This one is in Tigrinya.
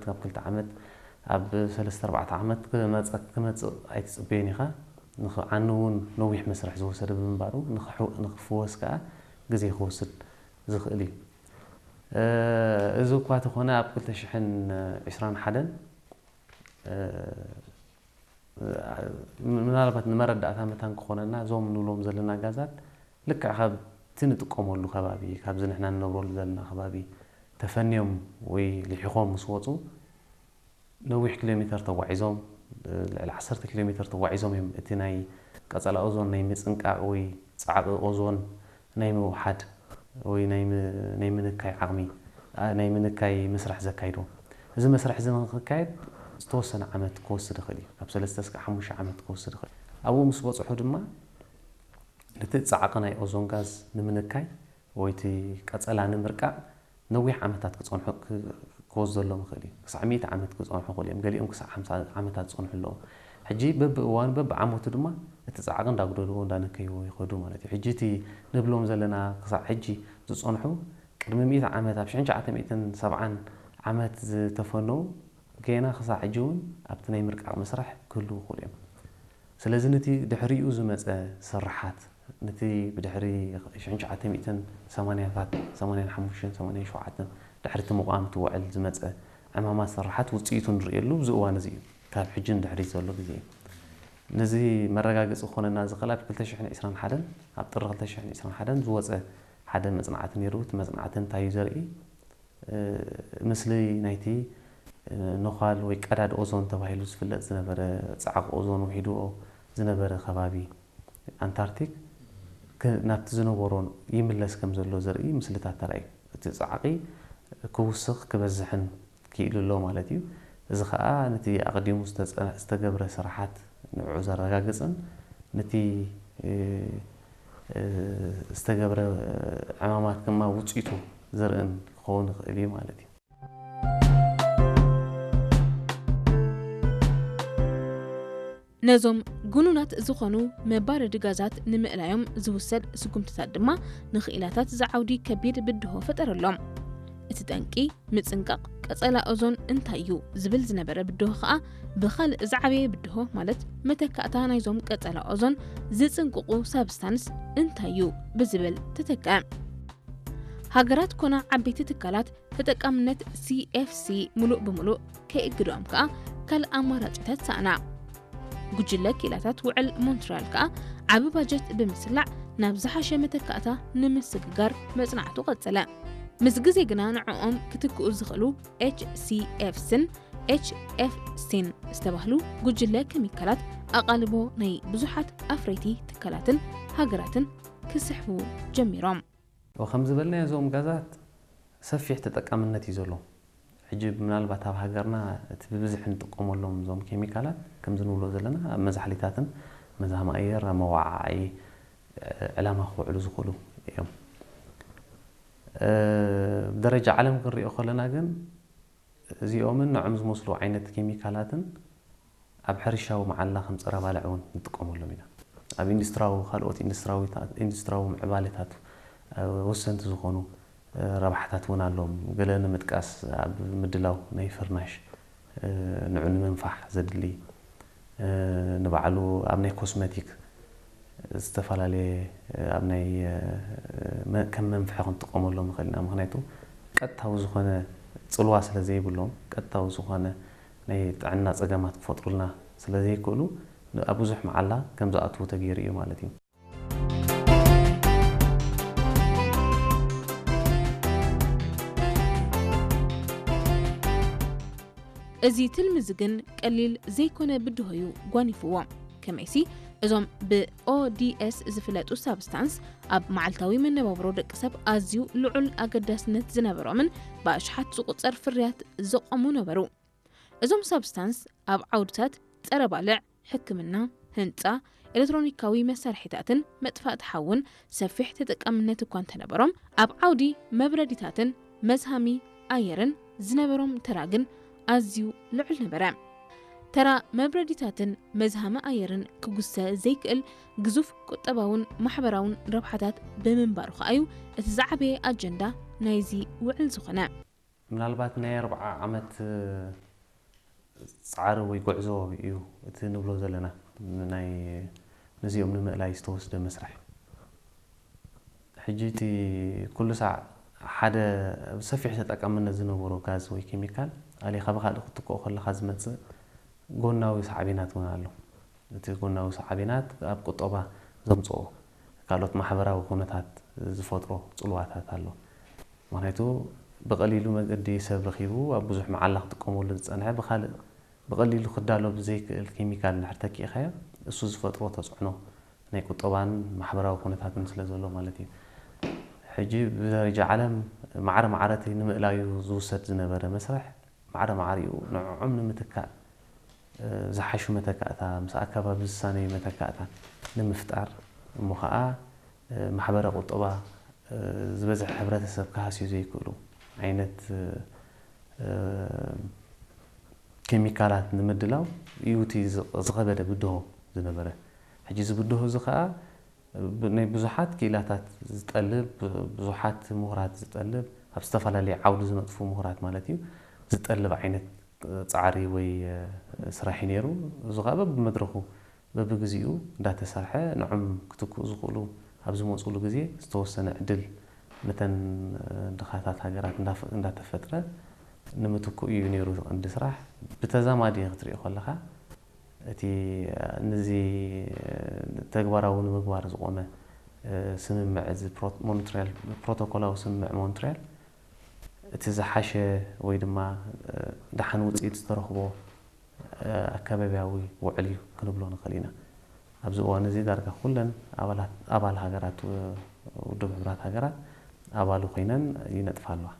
ካብ ክልተ ዓመት ኣብ ሰለስተ ኣርባዕተ ዓመት ክመፀ- ክመፅእ ኣይትፅበዮን ኢኻ። ንኽዓኒ እውን ነዊሕ መስርሕ ዝወሰደ ብምንባሩ ንኽሑ- ንኽፍወስ ከዓ ግዜ ክወስድ ዝኽእል እዩ። እ፣ እዚ እኳ ተኾነ ኣብ ክልተ ሽሕን ዕስራን ሓደን እ፣ ምናልባት ንመረዳእታ መታን ክኾነና እዞም ንብሎም ዘለና ጋዛት ልክዕ ካብቲ ንጥቀመሉ ከባቢ ካብዚ ንሕና ንነብረሉ ዘለና ከባቢ ተፈንዮም ወይ ልሒኾም ምስ ወፁ ነዊሕ ኪሎ ሜተር ተጓዒዞም ልዕሊ ዓሰርተ ኪሎ ሜተር ተጓዒዞም እዮም እቲ ናይ ቀፀላ ኦዞን ናይ ምፅንቃቕ ወይ ፃዕቒ ኦዞን ናይ ምውሓድ ወይ ናይ ም- ናይ ምንካይ ዓቕሚ ኣ- ናይ ምንካይ መስራሕ ዘካይዶ። እዚ መስራሕ እዚ ንክካየድ ዝተወሰነ ዓመት ክወስድ ይኽእል እዩ። ካብ ሰለስተ እስከ ሓሙሽተ ዓመት ክወስድ ይኽእል እዩ። ኣብኡ ምስ በፅሑ ድማ ነቲ ፃዕቒ ናይ ኦዞን ጋዝ ንምንካይ ወይ እቲ ቀፀላ ንምርቃቕ ነዊሕ ዓመታት ክፀንሑ ክ- ክወስደሎም ይኽእል እዩ። ክሳዕ ሚእቲ ዓመት ክፀንሑ ይኽእሉ እዮም። ገሊኦም ክሳዕ ሓምሳ ዓመታት ዝፀንሑ ኣለዉ። ሕጂ በብእዋኑ በብዓመቱ ድማ እቲ ፃዕቒ እንዳጉደልዎ እንዳነከይዎ ይኸዱ ማለት እዩ። ሕጂ እቲ ንብሎም ዘለና ክሳዕ ሕጂ ዝፀንሑ ቅድሚ ሚእቲ ዓመት ኣብ ሽሕን ትሽዓተ ሚእትን ሰብዓን ዓመት ዝተፈነዉ ገና ክሳዕ ሕጂ እውን ኣብቲ ናይ ምርቃቕ መስርሕ ክህልዉ ይኽእሉ እዮም። ስለዚ ነቲ ድሕሪኡ ዝመጸ ስርሓት ነቲ ብድሕሪ ሽሕን ትሽዓተ ሚእትን ሰማንያታት ሰማንያን ሓሙሽተን ሰማንያን ሸውዓተን ድሕሪ እቲ ምቋም እቲ ውዕል ዝመጸ ዕማማት ስርሓት ውፅኢቱ ንርእየሉ እዚ እዋን እዚ እዩ። ካብ ሕጂ ንድሕሪት ዘሎ ግዜ እዩ። ነዚ መረጋገፂ ክኾነና ዝኽእል ኣብ ክልተ ሽሕን ዕስራን ሓደን ኣብ ጥሪ ክልተ ሽሕን ዕስራን ሓደን ዝወፀ ሓደ መፅናዕቲ ነይሩ። እቲ መፅናዕቲ እንታይ እዩ ዘርኢ? እ፣ ምስሊ ናይቲ እ፣ ነዃል ወይ ቀዳድ ኦዞን ተባሂሉ ዝፍለጥ ዝነበረ ፃዕቒ ኦዞን ውሒድዎ ዝነበረ ከባቢ ኣንታርክቲክ ክ- ናብቲ ዝነበሮ ይምለስ ከም ዘሎ ዘርኢ ምስልታት ተራእዩ። እቲ ፃዕቒ ክውስኽ ክበዝሕን ክኢሉ ኣሎ ማለት እዩ። እዚ ከዓ ነቲ ኣቐዲሙ ዝተፀ- ዝተገብረ ስራሓት ንዕኡ ዘረጋግፅን ነቲ እ፣ እ፣ ዝተገብረ ዕማማት ድማ ውፅኢቱ ዘርእን ክኸውን ይኽእል እዩ ማለት እዩ። ነዞም ግኑናት ዝኾኑ መባረዲ ጋዛት ንምእላዮም ዝውሰድ ስጉምትታት ድማ ንኽኢላታት ዝዓውዲ ከቢድ ብድሆ ፈጠረሎም። እቲ ጠንቂ ምጽንቃቕ ቀጸላ ኦዞን እንታይ እዩ ዝብል ዝነበረ ብድሆ ኸኣ ብኻልእ ዝዓበየ ብድሆ ማለት መተካእታ ናይዞም ቀጸላ ኦዞን ዝጽንቅቑ ሳብስታንስ እንታይ እዩ ብዝብል ተተክአ። ሃገራት ኮነ ዓበይቲ ትካላት ተጠቃምነት CFC ሙሉእ ብሙሉእ ከይእግድኦም ከኣ ካልእ ኣማራጺታት ሰኣና። ጉጅለ ክኢላታት ውዕል ሞንትሪያል ከኣ ዓቢ ባጀት ብምስላዕ ናብ ዝሓሸ መተካእታ ንምስግጋር መጽናዕቱ ቀጸለ። ምስ ግዜ ግና ንዕኦም ክትክኡ ዝኽእሉ HCFCን HFCን ዝተባህሉ ጉጅለ ኬሚካላት ኣቓልቦ ናይ ብዙሓት ኣፍረይቲ ትካላትን ሃገራትን ክስሕቡ ጀሚሮም። ከም ዝበልናዮ እዞም ጋዛት ሰፊሕ ተጠቃምነት እዩ ዘሎ። ሕጂ ምናልባት ኣብ ሃገርና እቲ ብብዝሒ ንጥቀመሎም እዞም ኬሚካላት ከምዚ ንብሎ ዘለና ኣብ መዛሕሊታትን መዝሃሚ ኣየር ኣብ መወዓዓዒ ዕላማ ክውዕሉ ዝኽእሉ እዮም። ብደረጃ ዓለም ክንሪኦ ከለና ግን እዚኦምን ንዖም ዝመስሉ ዓይነት ኬሚካላትን ኣብ ሕርሻዊ መዓላ ከም ጸረ ባልዕ እውን ንጥቀመሎም ኢና። ኣብ ኢንዱስትራዊ ካልኦት ኢንዱስትራዊ ኢንዱስትራዊ ምዕባለታት ወሰንቲ ዝኾኑ ረብሓታት እውን ኣለዎም። ገለ ንምጥቃስ ኣብ ምድላው ናይ ፍርናሽ ንዑ ንምንፋሕ ዘድሊ ንባዕሉ ኣብ ናይ ኮስመቲክ ዝተፈላለየ ኣብ ናይ ከም መንፍሒ ክንጥቀመሎም ንኽእል ኢና። ምክንያቱ ቀጥታዊ ዝኾነ ፅልዋ ስለ ዘይብሎም ቀጥታዊ ዝኾነ ናይ ጥዕና ፀገማት ክፈጥሩልና ስለ ዘይክእሉ ኣብ ብዙሕ መዓላ ከም ዝኣትዉ ተገይሩ እዩ ማለት እዩ። እዚ ትልሚ እዚ ግን ቀሊል ዘይኮነ ብድሆ እዩ ጓኒፍዎ። ከመይሲ እዞም ብኦዲኤስ ዝፍለጡ ሳብስታንስ ኣብ መዓልታዊ መነባብሮ ደቂ ሰብ ኣዝዩ ልዑል ኣገዳስነት ዝነበሮምን ብኣሽሓት ዝቑጸር ፍርያት ዘቖሙ ነበሩ። እዞም ሳብስታንስ ኣብ ዓውድታት ጸረ ባልዕ፣ ሕክምና፣ ህንጻ፣ ኤሌክትሮኒካዊ መሳርሒታትን መጥፋእቲ ሓውን ሰፊሕ ተጠቃምነት እኳ እንተነበሮም፣ ኣብ ዓውዲ መብረዲታትን መዝሃሚ ኣየርን ዝነበሮም ተራ ግን ኣዝዩ ልዑል ነበረ። ተራ መብረዲታትን መዝሃሚ ኣየርን ክጉሰ ዘይክእል ግዙፍ ቁጠባውን ማሕበራውን ረብሓታት ብምንባሩ ከኣዩ እቲ ዝዓበየ ኣጀንዳ ናይዚ ውዕል ዝኾነ። ምናልባት ናይ ኣርብዓ ዓመት ፃዕሪ ወይ ጉዕዞ እዩ እቲ ንብሎ ዘለና፣ ናይ ነዚኦም ንምእላይ ዝተወስደ መስርሕ። ሕጂ እቲ ኩሉ ሳዕ ሓደ ብሰፊሕ ተጠቃምነት ዝነበሮ ጋዝ ወይ ኬሚካል ኣሊኻ ብካልእ ክትክኦ ከለኻ ዝመፅእ ጎናዊ ሳዕቤናት እውን ኣሎ። እቲ ጎናዊ ሳዕቤናት ኣብ ቁጠባ ዘምፅኦ ካልኦት ማሕበራዊ ኩነታት ዝፈጥሮ ፅልዋታት ኣሎ። ምክንያቱ ብቐሊሉ መገዲ ሰብ ረኺቡ ኣብ ብዙሕ መዓላ ክጥቀመሉ ዝፀንሐ ብካልእ ብቐሊሉ ክዳሎ ብዘይክእል ኬሚካል እንድሕር ተኪእካዮ፣ እሱ ዝፈጥሮ ተፅዕኖ ናይ ቁጠባን ማሕበራዊ ኩነታትን ስለ ዘሎ ማለት እዩ። ሕጂ ብደረጃ ዓለም ማዕረ ማዕረ እቲ ንምእላዩ ዝውሰድ ዝነበረ መስርሕ ማዕረ ማዕሪኡ ንዕዖም ንምትካእ ዝሓሹ መተካእታ ምስ ኣከባቢ ዝሳነዩ መተካእታ ንምፍጣር እሞ ከዓ ማሕበረ ቁጠባ ዝበዝሕ ሕብረተሰብ ክሃስዩ ዘይክእሉ ዓይነት ኬሚካላት ንምድላው እዩ እቲ ዝኸበደ ብድሆ ዝነበረ። ሕጂ እዚ ብድሆ እዚ ከዓ ናይ ብዙሓት ክኢላታት ዝጠልብ፣ ብዙሓት ምሁራት ዝጠልብ፣ ኣብ ዝተፈላለየ ዓውዲ ዝነጥፉ ምሁራት ማለት እዩ፣ ዝጠልብ ዓይነት ፃዕሪ ወይ ስራሕ እዩ ነይሩ። እዚ ከዓ በብመድረኹ በብግዚኡ እንዳተሰርሐ ንዖም ክትክኡ ዝኽእሉ ኣብ ዝመፅሉ ግዜ ዝተወሰነ ዕድል ነተን ድኻታት ሃገራት እንዳተፈጥረ ንምትክኡ እዩ ነይሩ ቀንዲ ስራሕ። ብተዛማዲ ክትሪኦ ከለካ እቲ ነዚ ተግባራዊ ንምግባር ዝቆመ ስምምዕ እዚ ሞንትሪያል ፕሮቶኮላዊ ስምምዕ ሞንትሪያል እቲ ዝሓሸ ወይ ድማ ደሓን ውፅኢት ዝተረኽቦ ኣከባቢያዊ ውዕል እዩ ክንብሎ ንኽእል ኢና። ኣብዚ እዋን እዚ ዳርጋ ኩለን ኣባል ሃገራት ውድብ ሕቡራት ሃገራት ኣባሉ ኮይነን ይነጥፋ ኣለዋ።